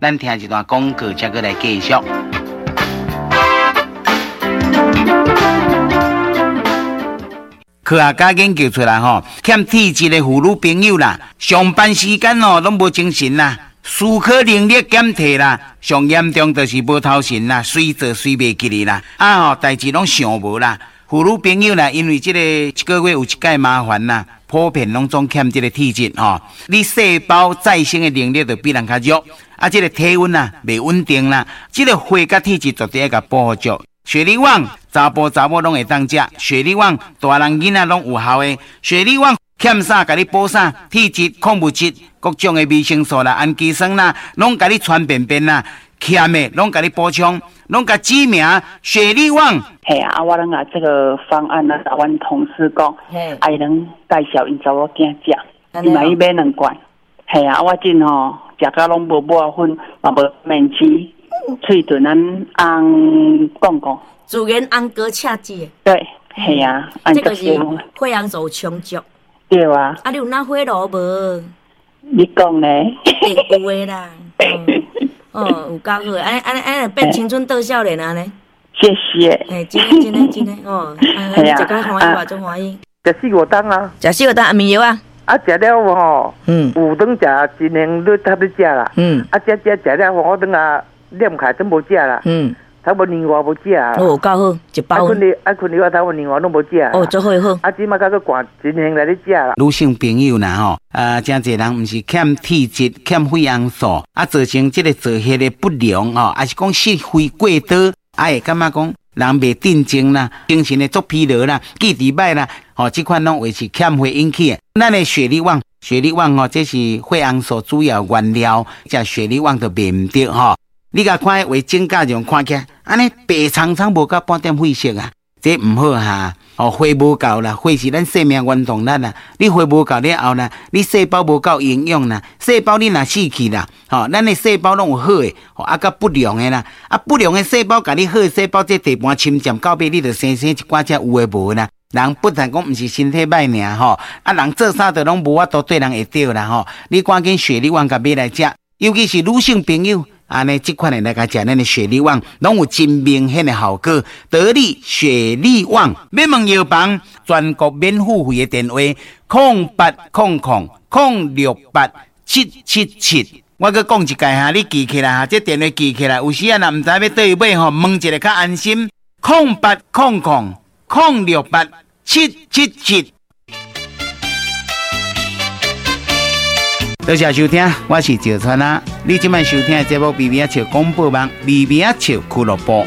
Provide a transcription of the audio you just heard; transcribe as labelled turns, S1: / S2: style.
S1: 咱聽一段廣告，才閣來繼續。科學家研究出來吼，欠體質的婦女朋友啦，上班時間哦攏無精神啦，思考能力減退啦，上嚴重就是無頭神啦，隨做隨袂記得啦，啊吼，代誌攏想無啦。婦女朋友啦，因為這個一個月有一擺麻煩啦，普遍攏總欠這個體質吼，你細胞再生的能力就比人較弱，啊，這個體溫啊袂穩定啦，這個血佮體質絕對愛共補足。雪梨旺，查埔查某攏會當食。雪梨旺，大人囡仔攏有效的。雪梨旺，欠啥共你補啥，體質、礦物質、各種的維生素啦、氨基酸啦，攏共你傳便便啦，欠的攏共你補充，攏共指名雪梨旺。
S2: 嘿啊，我攏共這個方案啊，阮同事講，啊伊攏介紹𪜶查某囝食，伊嘛去買兩罐。嘿啊，我真吼食甲攏無抹粉，嘛無面子。喙唇咱紅講講，
S3: 自然紅膏赤舌。
S2: 對，係啊，
S3: 這個是血紅素充足。
S2: 對啊。
S3: 啊，你有哪火爐無？
S2: 你講咧？
S3: 會有的啦。哦，有夠好，按呢按呢按呢變青春倒少年按呢。
S2: 謝謝。
S3: 欸，真的真的真的哦，啊，你食甲歡喜，我足歡喜。
S4: 食四五冬啊。
S3: 食四五冬，安眠藥啊。
S4: 啊，食了吼，有當食真興，你差不多食啦。啊，食食食了，我轉啊。念起來都無食啦，差不多年外無食啊。
S3: 哦，夠好，一包。
S4: 愛睏咧，愛睏咧，我差不多年外攏無食。
S3: 哦，足好好。
S4: 啊，這馬閣閣寒真興來咧食啦。
S1: 女性朋友啦吼，啊，誠濟人毋是欠體質、欠血紅素，啊，造成這個造血的不良吼，抑是講失血過多，啊，會感覺講人袂鎮靜啦，精神會足疲勞啦，記憶歹啦，吼，這款攏會是欠血引起的。咱的雪梨旺，雪梨旺吼，這是血紅素主要原料，食雪梨旺就袂毋著吼。你共看彼畫指甲樣看起來，按呢白蒼蒼無夠半點血色啊，這毋好哈！哦，血無夠啦，血是咱生命原動力啦。你血無夠了後啦，你細胞無夠營養啦，細胞你若死去啦，吼，咱的細胞攏有好的，啊，佮不良的啦，啊，不良的細胞共你好的細胞這地盤侵佔到尾，你就生生一寡這有的無的啦。人不但講毋是身體歹爾吼，啊，人做啥都攏無法度對人會著啦吼。你趕緊雪梨丸共買來食，尤其是女性朋友。按呢，這款的來共食，咱的雪梨旺攏有真明顯的效果。得力雪梨旺，欲問藥房全國免付費的電話：0800068777。我閣講一擺哈，你記起來哈，這電話記起來，有時啊若毋知欲佗位買吼，問一下較安心。0800068777。多謝收聽，我是趙川啊。你這擺收聽的節目《微微仔笑廣播網》，微微仔笑俱樂部。